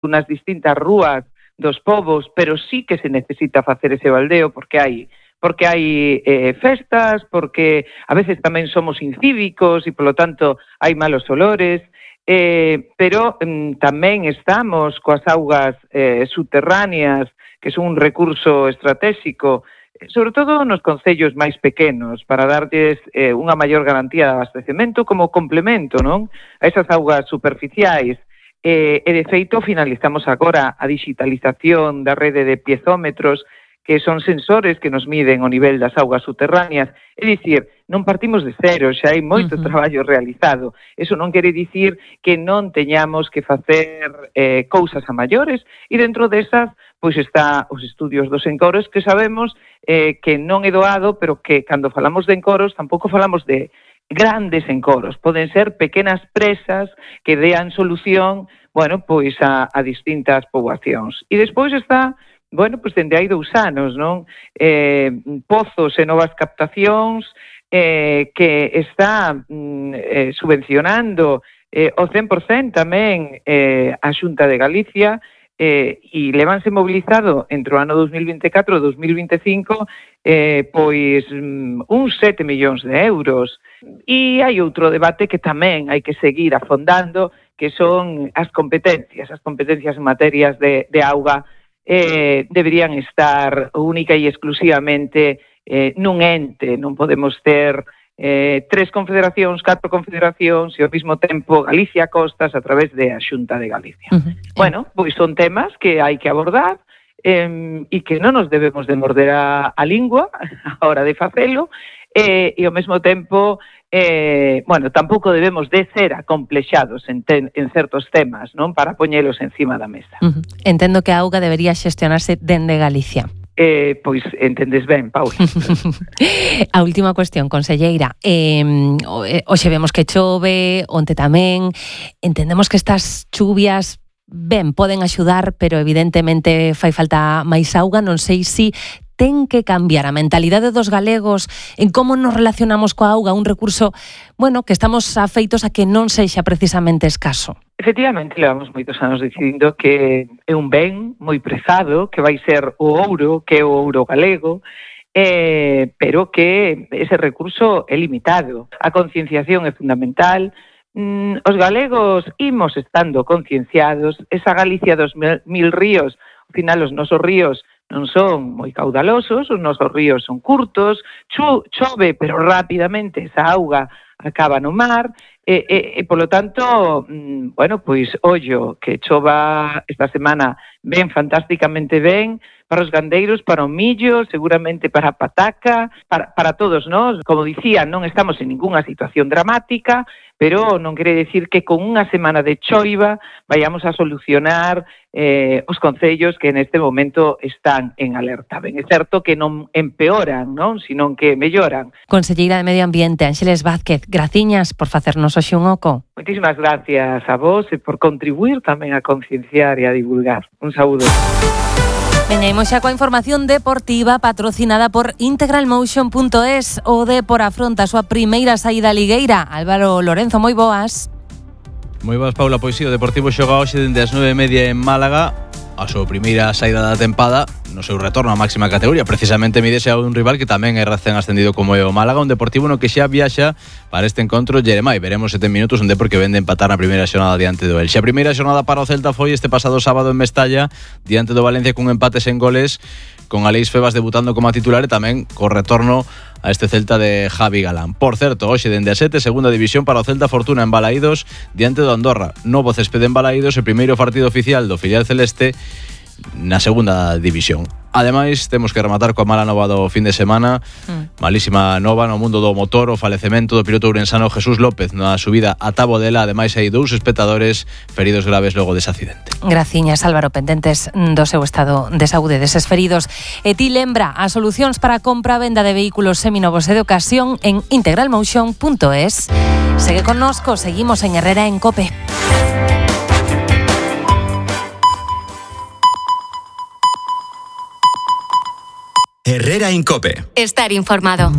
nas distintas rúas dos povos, pero sí que se necesita facer ese baldeo porque hai festas, porque a veces tamén somos incívicos e, polo tanto, hai malos olores, pero tamén estamos coas augas subterráneas, que son un recurso estratégico, sobre todo nos concellos máis pequenos, para darlles unha maior garantía de abastecemento como complemento, non? A esas augas superficiais. E, de feito, finalizamos agora a digitalización da rede de piezómetros, que son sensores que nos miden o nivel das augas subterráneas. É dicir, non partimos de cero, xa hai moito traballo realizado. Eso non quere dicir que non teñamos que facer cousas a maiores, e dentro desas, pois está os estudios dos encoros, que sabemos que non é doado, pero que cando falamos de encoros tampouco falamos de grandes encoros, poden ser pequenas presas que dean solución, bueno, pois a distintas poboacións. E despois está, bueno, pois dende hai 2 anos, non? Pozos e novas captacións que está subvencionando o 100% tamén a Xunta de Galicia, e levanse mobilizado entre o ano 2024 e 2025 pois uns 7 millóns de euros. E hai outro debate que tamén hai que seguir afondando, que son as competencias en materias de auga deberían estar única e exclusivamente nun ente. Non podemos ter 3 confederacións, 4 confederacións e ao mesmo tempo Galicia Costas a través da Xunta de Galicia. Bueno, pois son temas que hai que abordar e que non nos debemos de morder a lingua a hora de facelo e ao mesmo tempo bueno, tampouco debemos de ser acomplexados en certos temas, non, para poñelos encima da mesa. Entendo que a auga debería xestionarse dende Galicia. Pois entendes ben, Paula. A última cuestión, conselleira. Hoxe vemos que chove, onte tamén. Entendemos que estas chuvias ben poden axudar, pero evidentemente fai falta máis auga. Non sei se ten que cambiar a mentalidade dos galegos en como nos relacionamos coa auga, un recurso, bueno, que estamos afeitos a que non sexa precisamente escaso. Efectivamente, levamos moitos anos decidindo que é un ben moi prezado, que vai ser o ouro, que é o ouro galego, pero que ese recurso é limitado. A concienciación é fundamental. Os galegos imos estando concienciados. Esa Galicia dos 1000 ríos, ao final os nosos ríos non son moi caudalosos, os nosos ríos son curtos, chove, pero rapidamente esa auga acaba no mar, e polo tanto, bueno, pois, ollo, que chova esta semana ben, fantásticamente ben, para os gandeiros, para o millo, seguramente para a pataca, para todos nós. Como dicía, non estamos en ningunha situación dramática, pero non quere decir que con unha semana de choiva vayamos a solucionar os concellos que neste momento están en alerta. Ben, é certo que non empeoran, non, sino que melloran. Conselleira de Medio Ambiente, Ángeles Vázquez, graciñas por facernos hoxe un oco. Moitísimas gracias a vos e por contribuir tamén a concienciar e a divulgar. Un saúdo. Veña, imos xa coa información deportiva patrocinada por integralmotion.es. O Depor afronta a súa primeira saída ligueira. Álvaro Lorenzo, moi boas. Moi boas, Paula. Pois si, o Deportivo xoga hoxe dende as 9:30 en Málaga a súa primeira saída da tempada no seu retorno á máxima categoría. Precisamente mídese a un rival que tamén é recén ascendido como é o Málaga, un Deportivo no que xa viaxa para este encontro Jeremai. Veremos 7 minutos onde porque vende empatar na primeira xornada diante do Elxe. A primeira xornada para o Celta foi este pasado sábado en Mestalla diante do Valencia cun empate sen goles, con Aleix Febas debutando como titular e tamén co retorno a este Celta de Javi Galán. Por certo, hoxe dende a 7, segunda división para o Celta Fortuna en Balaídos diante do Andorra. Novo céspede en Balaídos, o primeiro partido oficial do filial celeste na segunda división. Ademais, temos que rematar coa mala nova do fin de semana. Malísima nova no mundo do motor, o falecemento do piloto ourensano Jesús López na subida a Tabodela. Ademais, hai 2 espectadores feridos graves logo dese accidente. Graciñas, Álvaro, pendentes do seu estado de saúde deses feridos. E ti lembra as solucións para a compra e venda de vehículos seminovos e de ocasión en integralmotion.es. Segue connosco, seguimos en Herrera en COPE. Herrera en COPE. Estar informado.